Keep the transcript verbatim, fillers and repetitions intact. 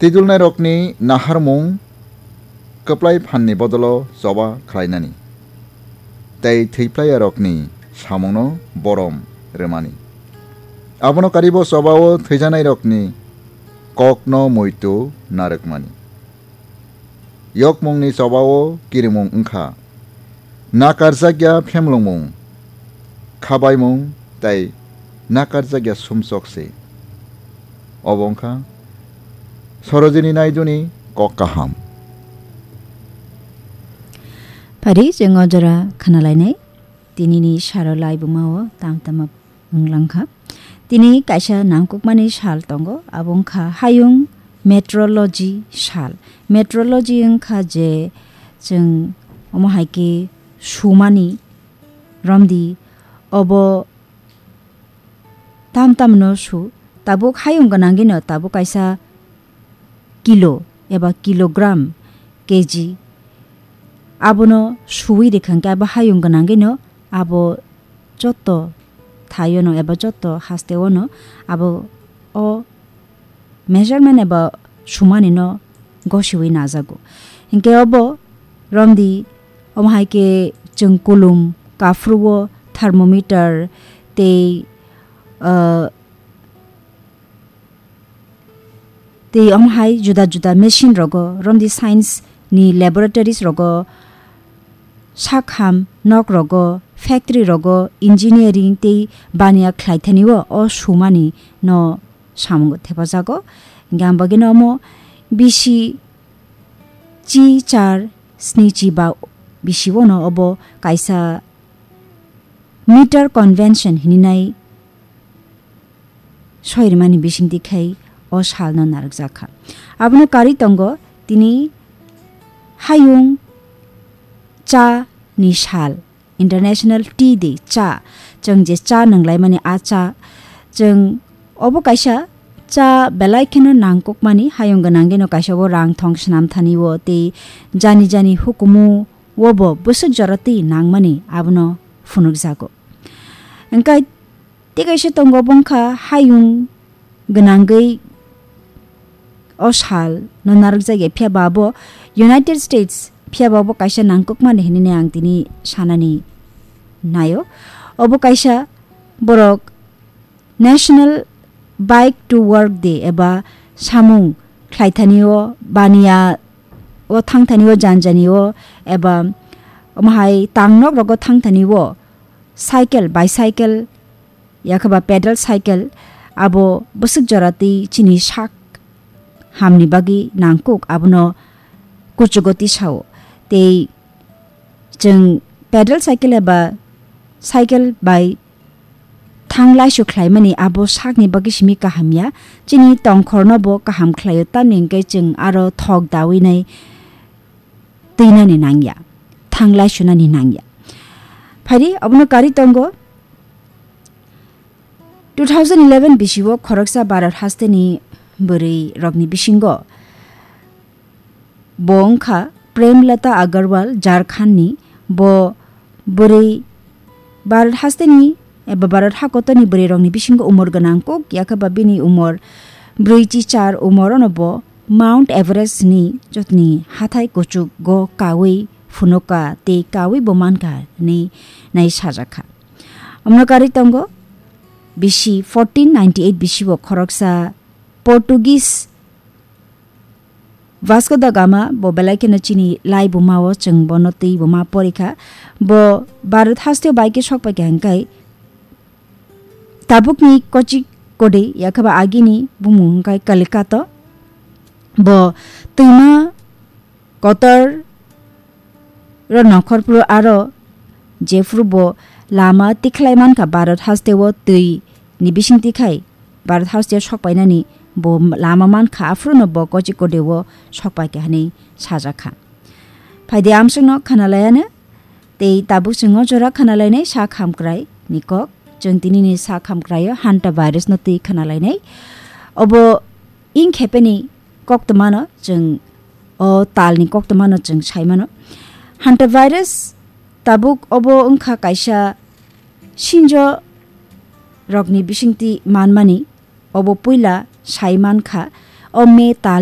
Twidulnairokni naharmung kwplai phanni bodolo choba khlainani, tei thwiplaiyarokni samungno borom rwmani. Abono karibo chobao thwijanairokni kokno muitu narwkmani. Yokmungni chobao kirimung wngkha nakarjakya phemlongmung, khabaimung tei nakarjakya sumsok se. Obo wngkha Sarojini Naiduni kok kaham. Phari chwng o jora khanalainai, tinini saro laibumao tam tama wng langkha. Tini kaisa nangkukmani sal tongo, abo wngkha hayung meteorology sal. Meteorology wngkha je chwng omo hai khe sumani romdi, obo tam tamno su, tabuk hayung gwnangino tabuk kaisa kilo eba kilogram, K G, abono suwi rikha hwnkhe abo hayung gwnangino abo joto thaiono eba joto hasteono abo o measurement eba sumanino gosiwi najago. Hinkhe obo romdi omo hai khe chwng kulum kaphruo thermometer tei, ah, tei omo hai juda juda machine rogo romdi science ni laboratories rogo, sakham nok rogo, factory rogo, engineering tei baniya khlai thani o, o sumani no samungo thepajago. Hingke ang bagino omo bisi chi char sni chi ba bisi o no obo kaisa meter convention hininai soirimani bisingtwi khai o salno narwkjakha. Abono karwi tongo tini hayung cha ni sal, International Tea Day, cha, chwng je cha nwnglaimani a cha, chwng obo kaisa cha belai kheno nangkukmani, hayung gwnangino kaisa o rang thong swnam thani o tei jani jani hukumu o bo bwswk jora twi nangmani abono phunukjago. Hwnkhe tei kaisa tongo, bo wngkha hayung gwnangwi o sal no narwkjak ya, phiya ba bo United States, phiya ba bo kaisa nangkukmani hinwi ang tini sanani naio. Obo kaisa borok National Bike to Work Day eba samung khlaithani o, baniya o thangthani o, janjani o eba omo hai tangnok rogo thangthani o cycle, bicycle, yakhe ba pedal cycle, abo bwswk jora twi chini sak hamni bagwi nangkuk, abono kuchugo tisao. Tei chwng pedal cycle eba cycle bai thang laisu khlaimani abo sakni bagwi simi kaham ya, chini tongkhorno bo kaham khlaio, tamni hwnkhe chwng aro thok dawi nai twinani nangya, thang laisunani nangya. Phari abono karwi tongo two thousand eleven bisio khoroksa Bharat hasteni bwrwi rokni bisingo bo wngkha Premlata Agarwal, Jharkhandni. Bo bwrwi Bharat hasteni eba Bharat hakotorni bwrwi rokni bisingo umor gwnang kuk, yakhe ba bini umor brwi chi char umor ono bo Mount Everest ni jotoni hathai kuchuk go kawi phunuka tei kawi bo mankha hinwi nai sajakha. Omno karwi tongo bisi fourteen ninety eight bisi bo khoroksa Portuguese Vasco da Gama, bo belai kheno chini lai buma o, chwng bono twi buma porikha. Bo Bharat hasteo bai khe sok paikha hwnkhe tabukni Kochi Kode, yakhe ba agini bumung hwnkhe Kalikato. Bo twima kotor ro nongkhorphuru aro jephuru bo lama tikhlai mankha Bharat hasteo twi ni bising tikhai Bharat hasteo sokpainani bo lama mankha, aphuru no bo Kochi Kode o sokpaikha hinwi sajakha. Phaidi amsongno khanalayano tei tabuk chwng o jora khanalainai sak hamkrai ni kok. Chwng tinini sak hamkrai o hanta virus no twi khanalainai. Obo ing khepeni koktwmano chwng, o talni koktwmano chwng saimano. Hanta virus tabuk obo wngkha kaisa sinjo rokni bisingtwi manmani, obo puila sai mankha o May tal